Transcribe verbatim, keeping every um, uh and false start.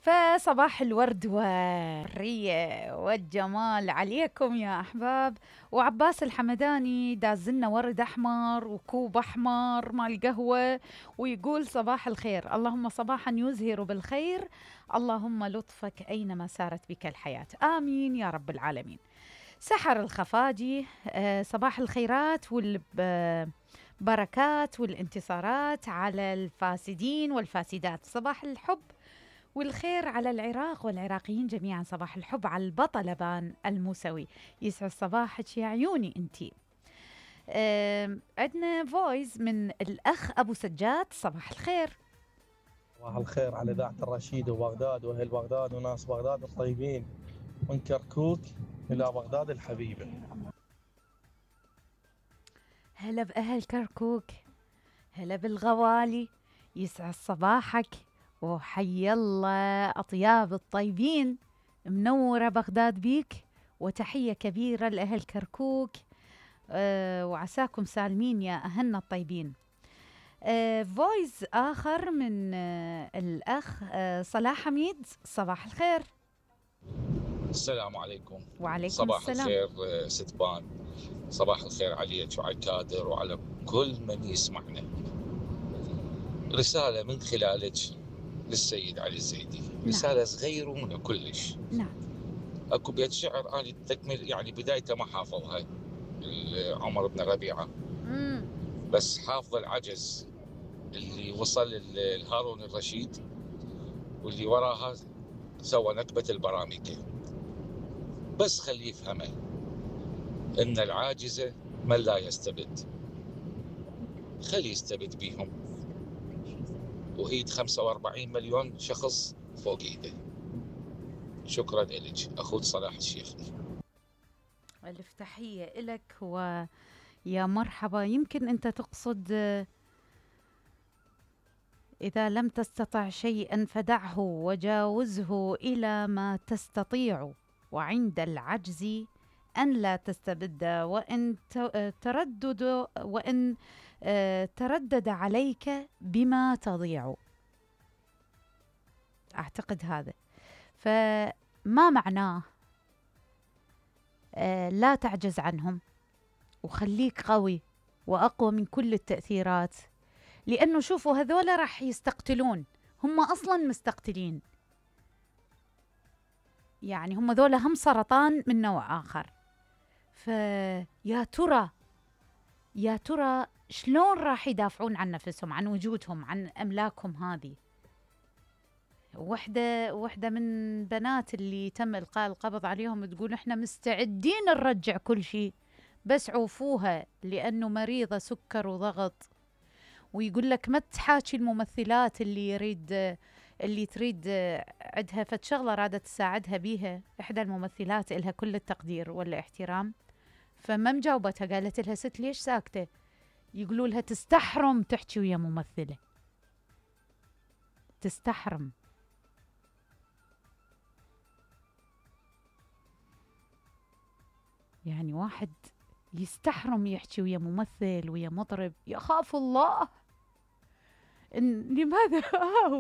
فصباح الورد والرية والجمال عليكم يا أحباب. وعباس الحمداني دازلنا ورد أحمر وكوب أحمر مال قهوة، ويقول صباح الخير، اللهم صباحا يزهر بالخير، اللهم لطفك أينما سارت بك الحياة، آمين يا رب العالمين. سحر الخفاجي، آه صباح الخيرات والبركات والانتصارات على الفاسدين والفاسدات، صباح الحب والخير على العراق والعراقيين جميعا، صباح الحب على البطل بان الموسوي، يسعد صباحك يا عيوني انتي. عندنا فويس من الأخ أبو سجاد، صباح الخير. صباح الخير على إذاعة الرشيد وبغداد وأهل بغداد وناس بغداد الطيبين، من كركوك إلى بغداد الحبيبة. هلا بأهل كركوك، هلا بالغوالي، يسعد صباحك وحي الله أطياب الطيبين، منورة بغداد بيك، وتحية كبيرة لأهل كركوك، أه وعساكم سالمين يا أهلنا الطيبين. أه فويس آخر من أه الأخ أه صلاح حميد، صباح الخير. السلام عليكم. وعليكم صباح السلام. الخير ستبان، صباح الخير عليك وعلى الكادر وعلى كل من يسمعنا. رسالة من خلالك للسيد علي الزيدي، نعم. رسالة صغيرة ومن كلش. نعم. اكو بيت شعر انا تكمل يعني بدايته ما حافظها عمر بن ربيعة، مم. بس حافظ العجز اللي وصل لهارون الرشيد واللي وراها سوى نكبة البراميكة. بس خليه يفهمه ان العاجزة من لا يستبد، خليه يستبد بيهم وإيد خمسة وأربعين مليون شخص فوق إيده. شكرا لك أخوك صلاح الشيخ. ألف تحية إلك ويا مرحبا. يمكن أنت تقصد إذا لم تستطع شيئا فدعه وجاوزه إلى ما تستطيع، وعند العجز أن لا تستبد، وإن تردد وإن تردد عليك بما تضيع. أعتقد هذا، فما معناه لا تعجز عنهم وخليك قوي وأقوى من كل التأثيرات، لأنه شوفوا هذولا راح يستقتلون، هم أصلا مستقتلين، يعني هم ذولا هم سرطان من نوع آخر. فيا ترى يا ترى شلون راح يدافعون عن نفسهم، عن وجودهم، عن أملاكهم هذه. وحدة وحدة من بنات اللي تم إلقاء القبض عليهم تقول إحنا مستعدين نرجع كل شيء بس عوفوها لأنه مريضة سكر وضغط. ويقول لك ما تحاكي الممثلات اللي يريد اللي تريد عندها فد شغلة رادت تساعدها بيها، إحدى الممثلات إلها كل التقدير والاحترام، فما مجاوبتها، قالت لها ست ليش ساكتة؟ يقولوا لها تستحرم تحكي ويا ممثلة، تستحرم. يعني واحد يستحرم يحكي ويا ممثل ويا مطرب، يخاف الله. إن لماذا؟